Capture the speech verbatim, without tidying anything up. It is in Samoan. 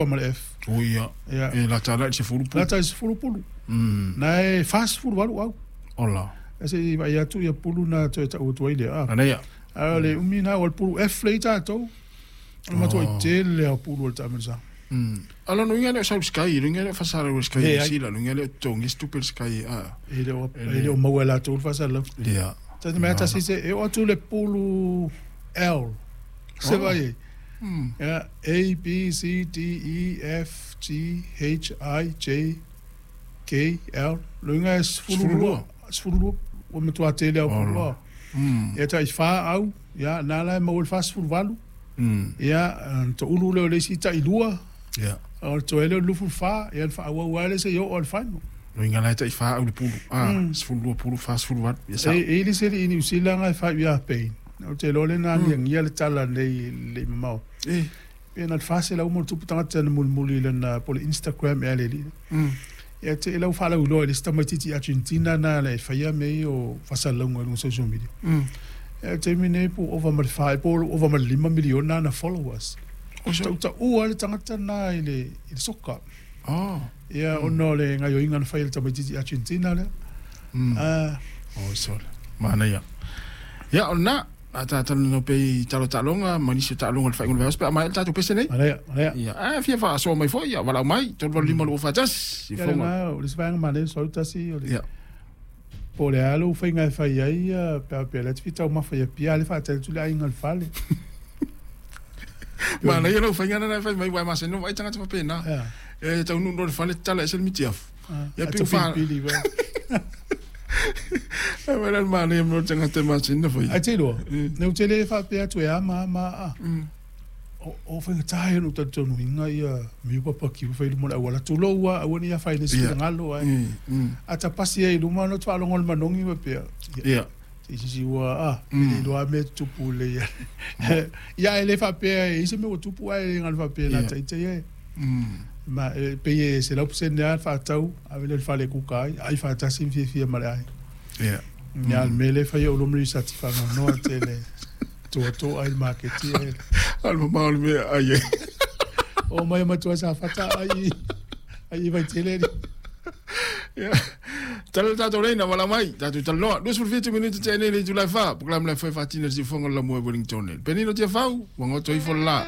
Ma le F. O ia. Ia. E lata la i le sefulu pulu. Lata i sefulu pulu. Mm. Na e fasefulu valu au. Ola. E se i vaai atu ia pulu na toe ta'u atu ai lea a. Manaia. A o le umi na o le pulu F le i tatou. O le matuai tele lava o pulu o le taamilosaga. Mm. A lona uiga e le o sau i le Sky, le uiga e le o faasalalau e le Sky i Leai. Niu Sila, le uiga e le o totogia se tupe a le Sky a. E le o e le o maua e latou le faasalalau. Ia. Tasi mai tasi se e oo atu le pulu L. Se vai ai. Mm. Ia, A B C D E F G H I J K L. Luga e sefulu lua. Sefulu lua. Ua matuā tele au pulu a. Mm. Ia ta'i fā au, ia, na la e maua i le fasefulu valu. Mm. Ia, ona to'ulu lea o le isi ta'i lua. Ia. O le toe lea o le lufulu fā, ia ona faaauau lava lea seia oo i le final. Luga la e ta'i fā au le pulu. Ah, Mm. sefulu lua pulu, fasefulu valu. Ia sa'o. E e i le isi alii Niu Sila na e fai ia Pain. Ou te iloa lea na agiagia le tala nei le i mamao. E. Pe na le faselau ma le tupu tagata na mulimuli i lana po o le Instagram ea le alii. Mm. Ia te i lau faalauiloa i le isi tamaititi Argentina na le e faia mea ia o faasalalauga i luga o social media. Mm. Ia le taimi nei po ua ova ma le fa po ua ova ma le lima miliona ana followers. O se. Tautaua le tagata na i le i le soka. Oh. Ia ona o le gaoioiga na fai e le tamaititi Argentina lea. Mm. Ah, O sole. Manaia. Ia, o lena, a tatalanoa pea i tala o taaloga ma nisi o taaloga o le faaiuga o le vaiaso pe a maea le tatou pese nei. manaia, manaia. Ia, a fia faasoa mai foi, ia, valaau mai, tolu valu lima lua faatasi. I Ia fofoga. lena o le isi vaega manaia soau tasi o le Ia. po o le a lou faiga e fai ai ia pe a pe le te fitaumafa ia pia le faatali atu le aiga o le fale. Manaia lau faiga lena e fai mai, uae masani ona vaai tagata faapena. Ia. E taunuu loa i le fale, tatala ese le mitiafu. Ia, A pe ua fa- tafilipili vai. E mai la le manaia mea o le tagata e masani ona faia. Ai te iloa, Mm. ne ou te le faapea atu e ama ama a. Mm. O o faigata ia ona ou talitonuina ia miu papakiu fai i luma o le auala. Tulou a aua ne i afaina i se Ia. finagalo ai. Mm, mm. A tapasi ai i luma ona ou faalogo i le manogi faapea. Ia, Ia. se isi ua a, Mm. e le iloa mea e tutupu lelei ai. Ia e le faapea e i ai se mea ua tupu ae le galo faapea na Ia. taitaia e. Mm. Ma e pei e selau pasene lava le fa'atau ave lea i le fale e kuka ai, ai fa'atasi ma fiafia ma le ai. Ia. Ia le mea lea e faia olo ma le risati fa'anoanoa tele toatoa ai le maketi ai. A le mamao o le mea ai ai. O mai e matua safata ai ai i vaitele ali. Ia. Tala le tatou leina, valaau mai, tatou talanoa. Luasefulu fitu minute tea nei i le itula e fa, polokalame le foe faatina i le siufofoga o le Lamua i Wellington. Penino Tiafau, ua goto ifo le la.